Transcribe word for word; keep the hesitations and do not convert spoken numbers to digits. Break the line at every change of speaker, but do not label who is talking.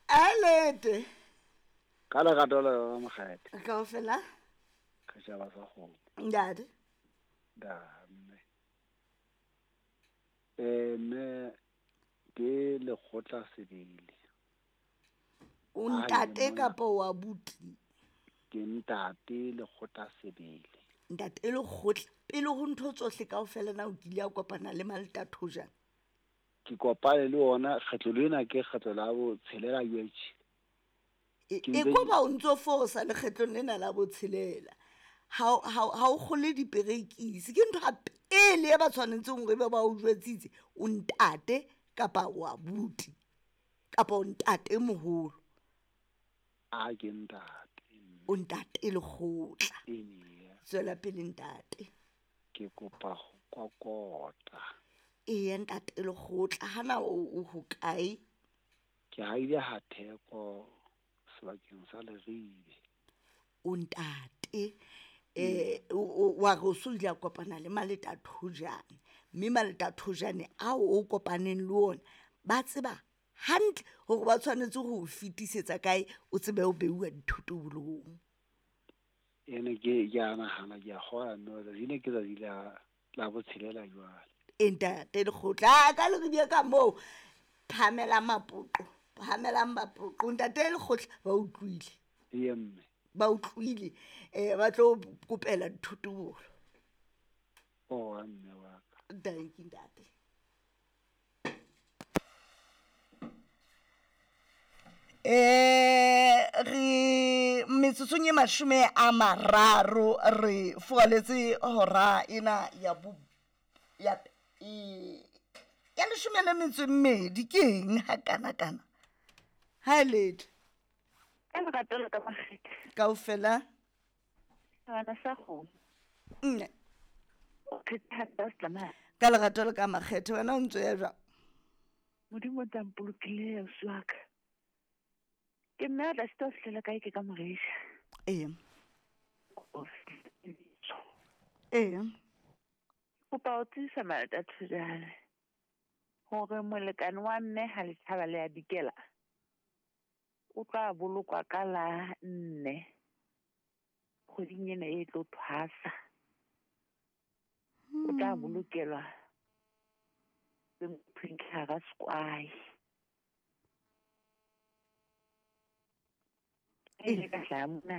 Alete.
Ka lerato la yona Mokgete.
Kaofela?
Re shaba sa kgomo.
Ntate.
Da mme. Eh mme ke lekgotla sebele.
O ntate kapa wa buti?
Ke ntate lekgotla sebele.
Ntate lekgotla pele ho ntho tsohle kaofela na o kile a kopana le Malta Thojane?
Ke kopane le ona kgetlo lena ke kgetlo la bo tshelela U H.
E e ko ba o ntso fosa lekgetlong lena la botshelela. Ha ha ha o kgole diperekisi ke ntho ya pele e ba tshwanetseng hore be ba o jwetsitse o ntate kapa wa buti kapa o ntate moholo.
A ke ntate.
O ntate lekgotla.
Ee.
Tswela pele ntate.
Ke kopa ho kokota.
Ee ntate lekgotla hana o o hokae?
Ke haile ha theko sebakeng sa Leribe.
O ntate eh wa re o so ile a kopana le Malta Thojane mme Malta Thojane ao o kopaneng le ona ba tseba hantle hore ba tshwanetse ho o fetisetsa kae o tsebe ho beuwa dithotobolong.
Ene ke ke a nahana ke a kgola mme letsatsi le ke tsatsi la la botshelela jwale.
E ntate lekgotla ka Leribe ka moo phamela mapoqo phamelang mapoqo ntate lekgotla ba utlwile.
Ee mme.
Ba utlwile eh ba tlo kopela dithotobolo.
Oh mme wa ka.
Dankie ntate. Eh re metsotsong e mashome a mararo re fualetse hora ena ya bo ya e ya leshome le metso e mmedi ke eng ha kana kana. Ha lete.
Ka lerato la ka Makgethe.
Kaofela?
Bana sa kgomo.
Nne.
O phetse hantle o tsamaya.
Ka lerato la ka Makgethe wena o ntso ya jwang?
Modimo o tla mpolokile ausi wa ka. Ke mme a tla sitwa ho fihlela kae ke ka Moresha.
Ee. Ee.
Kopa ho tsebisa Malta Thojane hore molekane wa mme ha letjhaba le a dikela o tla bolokwa ka la nne kgweding ena e tlo thwasa. O tla bolokelwa thweng ke hara sekwae. E ile ka hlaha mona.